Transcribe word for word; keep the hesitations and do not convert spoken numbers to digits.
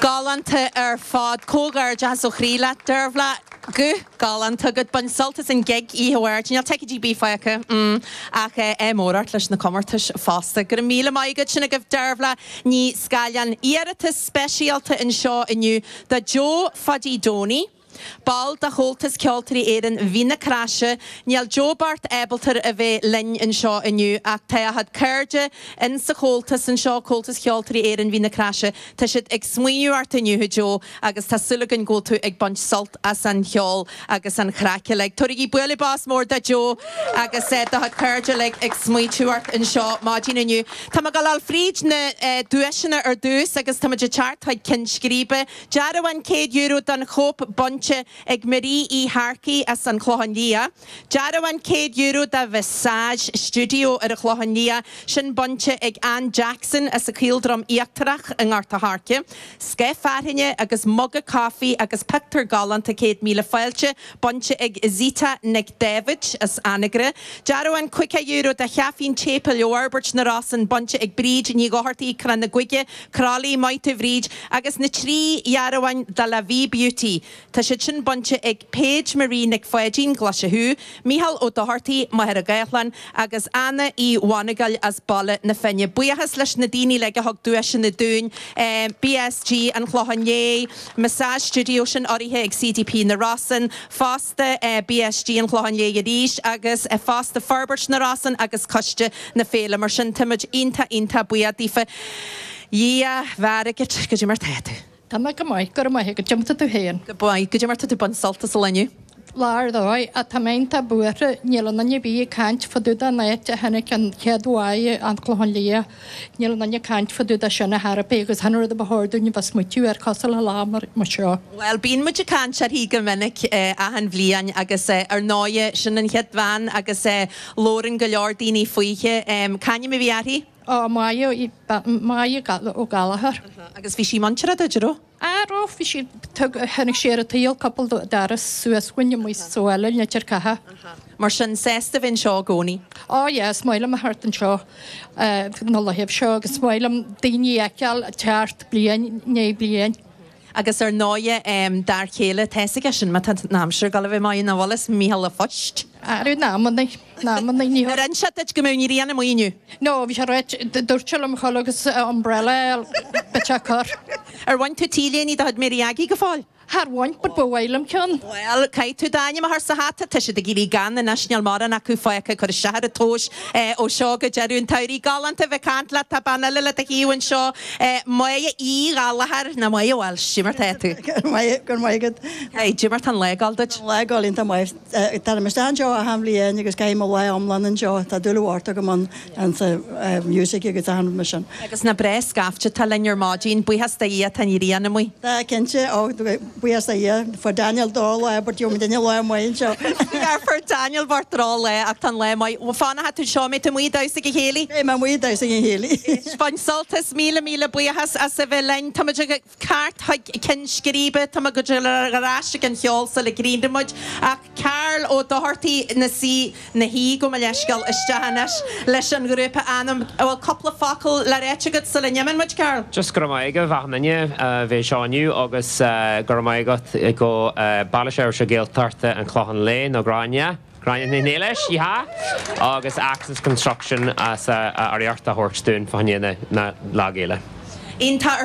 Galánta ar fad comhghairdeas ó chroí leat Dearbhla go galánta go bain sult as an gig oíche amárach Níl ticéidí bí faighte mm, ach é mórart leis na comórtais fosta. Gur míle maith agat sin agaibh Dearbhla Ní Scaileán iarratas speisialta anseo inniu do Joe Phaddy Donie. Ball de Chomhaltas Ceoltóirí Éireann Mhín na Craise, níl Joe bocht ábalta a bheith linn anseo inniu ach tá a chuid cairde in sa Chomhaltas anseo Comhaltas Ceoltóirí Éireann Mhín na Craise, Tá siad ag smaoineamh ort inniu Joe agus tá súil againn go bhfuil tú ag baint sult as an cheol agus an chraic le. Tugaigí bualadh bos mór do Joe agus eh, do cairde le ag smaointiú ort anseo maidin inniu. Tá go fríd na eh, duaiseanna ar dtús agus tá de teart chuig Cinn Scríbe. Dearbhán céad euro don chóip bainte ag Marie Uí Harcaí as an Chlochán Liath. Dearbhán céad euro do Visage Studio ar an Chlochán Liath sin bainte ag Ann Jackson as a Caoldrom Íochtarach i nGort an Choirce. Sceith fearthainne agus muga caife agus pictiúr galánta céad míle fáilte bainte ag Zita Nic David as Anagaire. Dearbhán caoga euro de Chaifín Teampaill Fhorbairt na Rosann bainte ag Bríd Ní Dhochartaí Crann na Guige, Crálaí Maite Bhríd agus na trí dhearbháin de La Vie Beauty. Tá siad sin bainte ag Paige Marie Nic Pháidín Glaise Michal Ó Dochartaí Machaire Gathlán agus Anna Uí Mhonagail as Baile na Finne. Buíochas leis na daoine le go thug duaiseanna dúinn eh, BSG an Clochán Léith, Massage Studio sin urraithe ag CDP na Rosann, fosta eh, BSG an Clochán Léith arís agus eh, fosta Forbairt na Rosann agus Coiste na Féile mar sin táimid iontach iontach buíoch daofa. Dhia bheargit go dtí mar tá tú. Tá mé go maith go maith go dtimta tú féin. Go maith go dtí mar tá tú bain sult as inniu. Lár dóigh a tá mé buartha níl an duine bí caint fadúda an áit a tháinig an chéad bhád an Clochán Liath níl an duine caint fadúda sin a therapy agus han rud a bhthúine bh smuitiú ar cosúil le lá mar mar seo. Well bíonn muid ag caint uirthi go minic eh, achan bhliain agus eh, ar ndóigh sin an chéad bhean agus eh, labhrann go leor daoine fúithi um, Canim a bhí uirthi? Ó Máire Máire Ó Gallchóir. Agus bhí sí muinteartha duit raibh? A ro bhí sí tháinig sé ar an tsaol cúpla doras suas uainn amuigh sa bhaile Leitir Catha. Mar sin sásta bheith anseo i gcónaí. Ó yes, maith liom a theacht anseo na laethanta seo agus maith liom daoine a fheiceáil teacht bliain i ndiaidh bliain. Agus ar ndóigh um, dar chéile teige sin má náimseir go bh mai na bhlas míle phoist. Arú námanna námanna ní Ar an se go mbeidh an ghrian amuigh inniu. No, bhí sé dúirt liom chuil agus umbrella bit cur. Ar bhain tú T-léine do Mary Aggie go fóill? Char bhain but ba mhaith liom ceann. Well, caithfidh tú d'ainm a chur sa hata tá siad ag éirí gann anois níl mórán acu fágtha chur isteach ar tóis ó seo go deireadh an tsamhraidh galánta bheith caint le tá bean eile le do thaobh anseo Máire Uí Ghallchóir na Máire Walsh, cad é mar tá tú. Gur maigad Hey, Jimar tan legáil duit? legáil tá maith Tá me seo a hamlíon agus céim le omlan an seo tá dúhharta go man an sa music agus an me sin. Agus na breis gaafte tá linn ar maidin buíochas do Dhia tá an ghrian amuigh. Tá cinnte ó buíochas do Dhia fuair Daniel dá lá but jo duine lá mai seo. Fuair Daniel bhar le ach tan le mai fána tú seo mé muí da go chéile? É me muí da go chéile. Bain sult as míle míle buíochas as a bheith linn Tá go ceart Cinn Scríbe Tá go aráiste an cheol sa le gríanmuid ach Carl Ó Dochartaí na sí na hí go leiscail isteach leis an grúpa Anam bhfuil cúpla focal le rá agat sula n-imíonn muid Carl. Just go raibh maith ag achan duine bheith anseo inniu agus go raibh maith agat go Baile Seirbhíse Gaeltachta an Clochán Léith nó Gráinne. Gráinne Néiles ha agus Access Construction as a urraíocht a thabhairt dúinn fá na na lá fhéile. Iontach ar